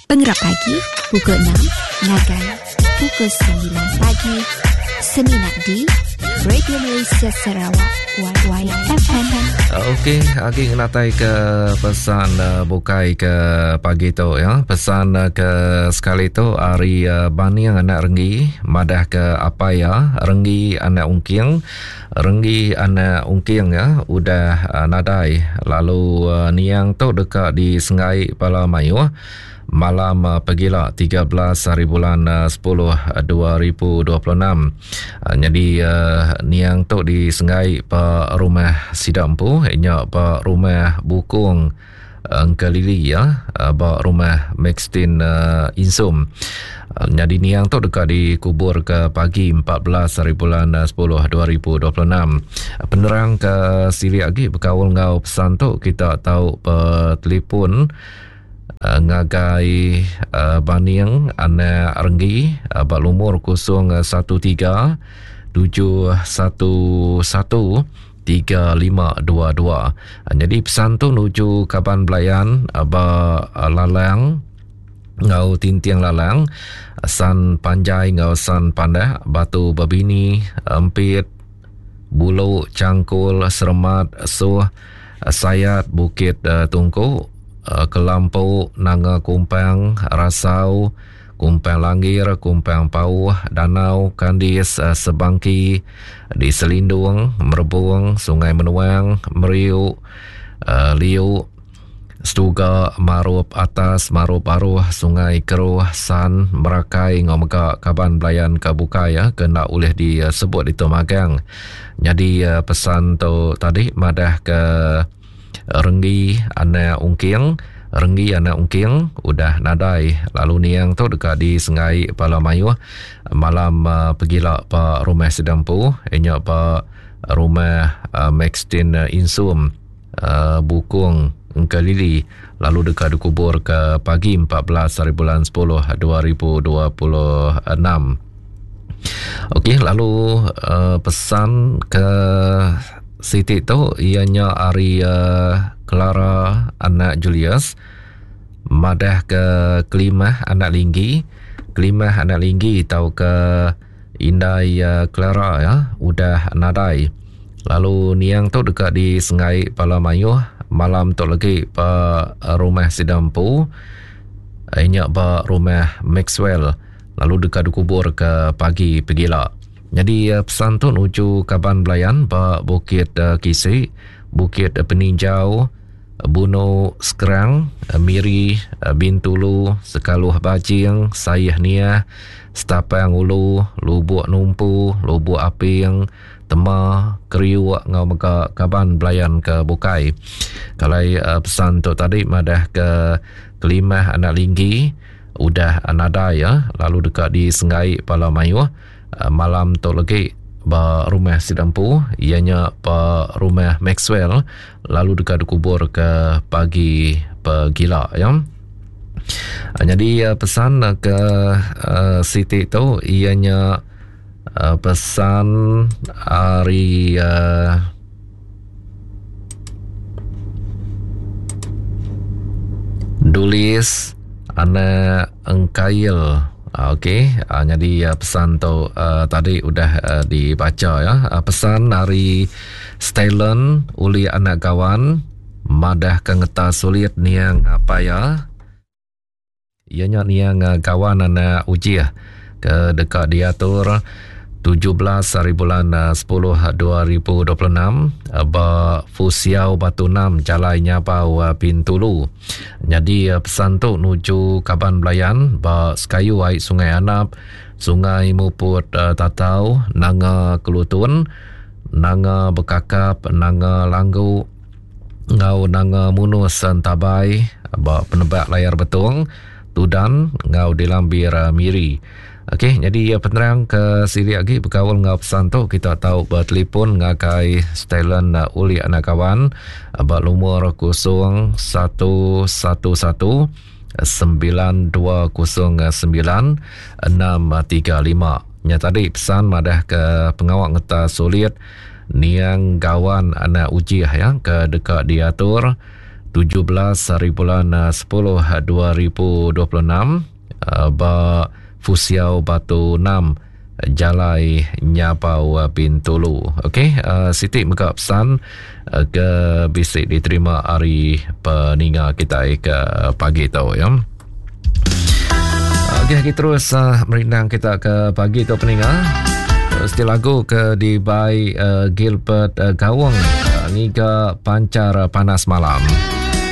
Pengerap pagi pukul 6 ngagai pukul 9 pagi semina di Radio Malaysia Sarawak YFM. Okey, agi ngenatai ke pesan uh, bukai ke pagi tu ya. Pesan uh, ke sekali tu ari uh, Baning anak Renggi madah ke apai ya Renggi anak Ungking Renggi anak Ungking ya udah uh, nadai lalu uh, niang tu deka disenggai bala mayuh malam uh, pegila 13 hari bulan uh, 10 2026. Uh, jadi uh, niang tu disenggai ba rumah sida empu nya ba rumah Bukung Engkelili ya ba rumah Maxtin Insum. Nyadi niang tu deka dikubur ke pagi 14 hari bulan 10 2026. Penerang ke silik agi bekaul enggau pesan tu kita tau betelefon ngagai Baning anak Renggi ba lumur 013 711 3522. Nyadi pesan tu nuju kaban belayan ba Lalang enggau Tinting Lalang, San Panjai enggau San Pandak, Batu Bebini, Empit, Bulu, Changkul, Seremat, Suh, Sayat, Bukit Tungku, Kelampu, Nanga Kumpang, Rasau, Kumpang Langgir, Kumpang Pauh, Danau, Kandis, Sebangki, di Selindung, Merebung, Sungai Menuang, Meriu, Liu, Setuga, Marup Atas, Marup Baruh, Sungai Keruh, San, Merakai enggau mega kaban belayan ke bukai ke enda ulih disebut ditu magang. Nyadi pesan tu tadi madah ke Renggi anak Ungking, Renggi anak Ungking udah nadai lalu niang tu deka disenggai bala mayuh malam pegila ba rumah sida empu iya nya ba rumah Maxtin Insum Bukong Engkelili lalu deka dikubur ke pagi 14 hari bulan 10 2026. Okey lalu uh, pesan ke siti tu iya nya ari uh, Clara anak Julius madah ke Kelimah anak Linggi Kelimah anak Linggi tau ke indai uh, Clara ya udah nadai lalu niang tu deka disengai bala mayuh malam tu lagi ba rumah sida empu nya ba rumah Maxwell lalu deka dikubur ke pagi pegila. Nyadi pesan tu nuju kaban belayan ba Bukit Kisi, Bukit Peninjau, Bunu Skrang, Miri, Bintulu, Sekaluh Bajing, Saih Niah, Setapang Ulu, Lubuk Numpu, Lubuk Aping, Tema, Kriuk enggau mega kaban belayan ke bukai. Kalai pesan tu tadi madah ke Kelimah anak Linggi, udah nadai ya lalu deka disenggai bala mayuh malam tu legi ba rumah sida empu iya nya ba rumah Maxwell lalu deka dikubur ke pagi pegila ya. Nyadi pesan ke siti tu iya nya pesan ari Dulis anak Engkail. Okey, nyadi pesan tu tadi udah dibacha ya. Pesan ari Stylen uli anak Gawan madah ke ngeta sulit niang apai iya. Iya nya niang kawan anak Ujih ke deka diatur 17 hari bulan 10 2026 ba Fusiau Batu 6 Jalai Nyabau Bintulu. Nyadi pesan tu nuju kaban belayan ba sekayu ai Sungai Anap, Sungai Muput Tatau, Nanga Kelutun, Nanga Bekakap, Nanga Langgu, enggau Nanga Munus Entabai ba Penebak Layar Betong, Tudan enggau di Lambir Miri. Okey, nyadi penerang ke silik agi bekaul enggau pesan tu kita tau betelefon ngagai Stylen Uli anak kawan ba lumur 0111 9209 635. Nya tadi pesan madah ke pengawa ngeta sulit Niang Gawan anak Ujih ya ke deka diatur. 17 hari bulan 10 2026 ba Fusiau Batu 6 Jalai Nyabau Bintulu. Okey, uh, siti mega pesan uh, ke bisi diterima ari peninga kita ke pagi tu ya. Okey, kita terus uh, merindang kita ke pagi tu peninga. Seti lagu ke dibai uh, Gilbert uh, Gawang uh, ngiga pancar panas malam.